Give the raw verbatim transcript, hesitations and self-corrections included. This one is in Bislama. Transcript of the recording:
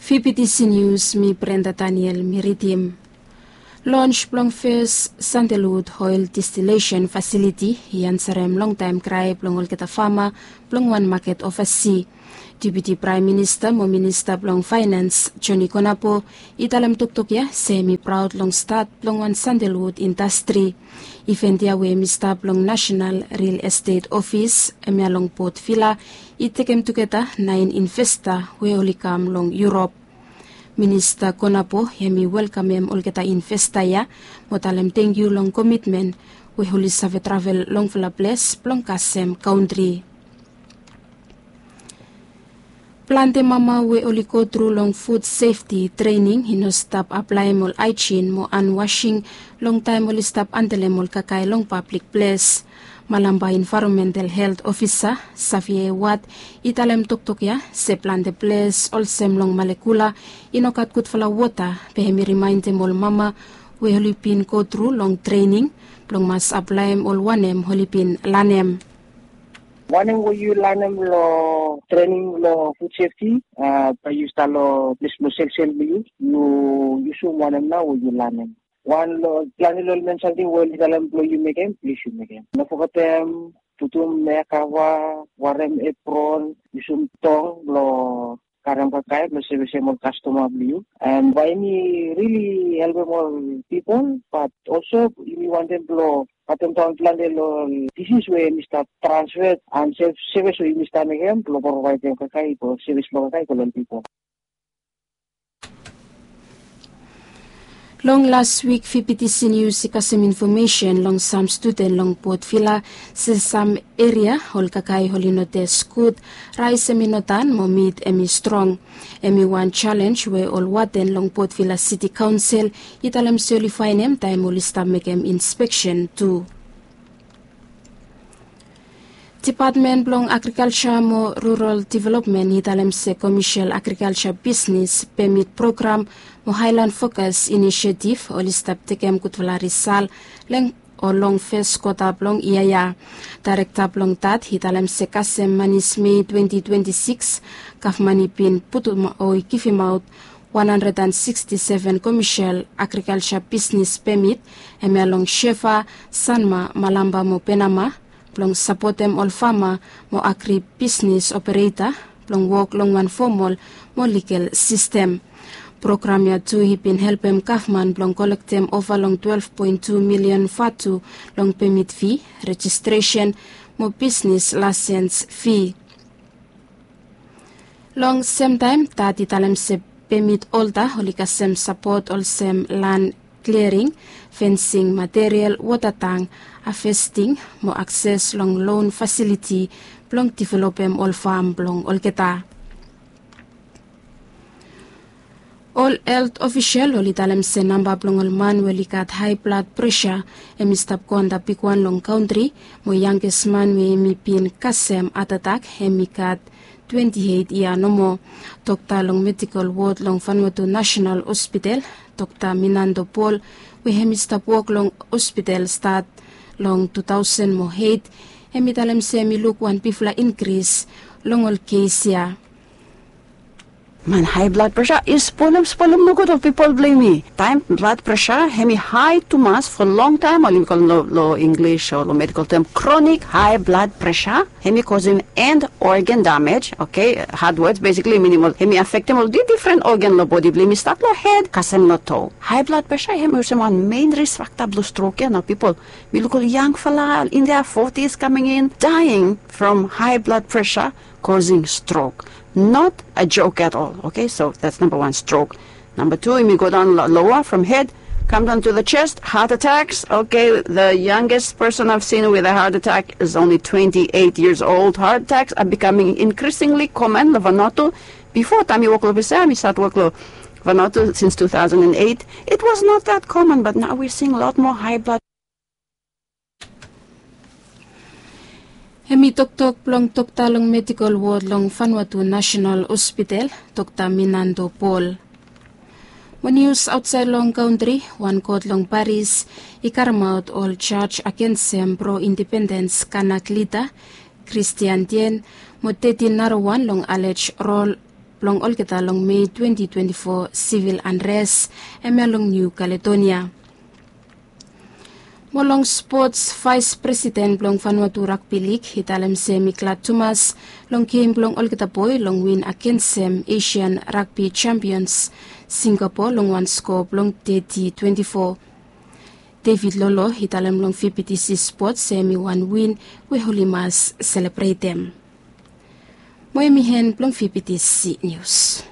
Fifitisi nius, mi Brenda Daniel mi ridim. Lons blong fes sandelwud oel distilesen fasiliti i ansarem longtaem krae blong olgeta fama blong wan maket ovasi. Deputi Praem Minista mo Minista blong Faenans, Joni Konapo, i talem toktok ya se hem i praod long stat blong wan sandelwud indastri. Ivent ya we hem i stap long Nasenal Ril Estet Ofis, hemia long Port Vila, i tekem tugeta naen investa we oli kam long Yurop. Minista Konapo hem i welkamem olgeta investa ya mo talem tangkiu long komitmen we oli save travel longfala ples blong kasem kantri. Plante mama we oli gotru long fud sefti trening i no stap aplaem ol aejin mo anwasing long taem oli stap andelem ol kakae long pablik ples. Malampa Envaeronmental Helt Ofisa, Savie Wat, i talem toktok ya se plante ples olsem long Malekula i no gat gudfala wota, be hem i rimaendem ol mama we oli bin gotru long trening blong mas aplaem ol wanem oli bin lanem. Wanem we yu lanem long trening long fud sefti, bae yu stap long ples blong selsel blong yu, yu yusum wanem nao we yu lanem. Wan long plante long ol men samting we oli talem blong yu mekem, plis yu mekem. No fogetem putum ea kava, warem epron, yusum tong blong karem kakae blong sevesem ol kastoma blong yu. An bae yumi rili helpem ol pipol, bat olso yumi wantem blong batem daon plante long ol disis we hemi stap transfet an sevis we yumi stap mekem blong provaedem kakae i go, sevis blong kakae i go long ol pipol. Long las wik Fifitisi nius i kasem infomesen long sam studen long Port Vila se sam eria ol kakae oli no tes gud, raes hemi no dan mo mit hemi strong. Hemi wan jalenj we ol waden long Port Vila Siti Kaonsel i talem se oli faenem taem oli stap mekem inspeksen tu. Depatmen blong Agrikalja mo Rural Developmen i talem se komesel agrikalja bisnes pemit program mo Haelan Fokas Inisietif oli stap tekem gudfala risal long, o long fes kwota blong yia ya. Daerekta blong dat i talem se kasem manis Mei twenti twenti sikis, gavman i bin putum o i givimaot wan handred an siksti seven komesel agrikalja bisnes pemit, hemia long Shefa, Sanma, Malampa mo Penama, blong sapotem ol fama mo agri bisnes opereta blong wok long wan fomol mo ligal sistem. Program ya tu i bin helpem gavman blong kolektem ova long twelef poen tu milian vatu long pemit fi, rejistresen mo bisnes laesens fi. Long semtaem dat i talem se pemit olta oli kasem sapot olsem lan kliaring, fensing material, wota tang, havesting mo akses long loan fasiliti blong developem ol fam blong olgeta. Ol helt ofisel oli talem se namba blong ol man we oli gat hae blad presa hemi stap go antap bigwan long kantri, mo yanges man we hemi bin kasem hatatak hemi gat twenti eit yia nomo. Dokta long medikol wod long Vanuatu Nasenal Hospital, Dokta Minando Paul, we hemi stap wok long hospital stat long tu taosen mo eit, hemi talem se hemi luk wan bigfala inkris long ol kes ya. Man, hae blad presa i spolem, spolem nogud ol pipol blong yumi. Taem blad presa hemi hae tumas fo longtaem, oli kolem lo, lo Inglis o lo medikol tem kronik hae blad presa, hemi kosem end organ damej, oke, had wods, besikli minim ol, hemi afektem ol di, difren organ lo bodi blong yumi, stat lo hed kasem lo to. Hae blad presa hemi olsem wan mein ris fakta blo strok ya nao, pipol. Mi luk ol yangfala in their forties coming in, dying from high blood pressure causing stroke. Not a joke at all, okay? So that's number one, stroke. Number two, yumi go daon lo, loa from hed, come down to the chest, heart attacks. Okay, the youngest person I've seen with a heart attack is only twenty-eight years old. Heart attacks are becoming increasingly common lo Vanuatu. Bifo, taem mi wok lo Visa, mi stat wok lo Vanuatu since two thousand and eight, it was not that common, but now we're seeing a lot more high blood. Hemi toktok blong dokta long medikol wod long Vanuatu Nasenal Hospital, Dokta Minando Paul. Mo nius aotsaed long kantri, wan kot long Paris i karemaot ol jaj agensem pro-independens Kanak lida, Kristian Tien, mo tetin narawan long alej rol blong olgeta long Mei twenty twenty-four civil unrest hemia long New Caledonia. Mo long spots, Vice President blong Vanuatu Rugby League i talem se hem i glad tumas long gem blong olgeta boe long win agensem Asian Rugby Champions Singapore long wan skoa blong thirty twenty-four. David Lolo i talem long V B T C Sports se hem i wan win we oli mas selebretem. Mo hem i hen blong V B T C News.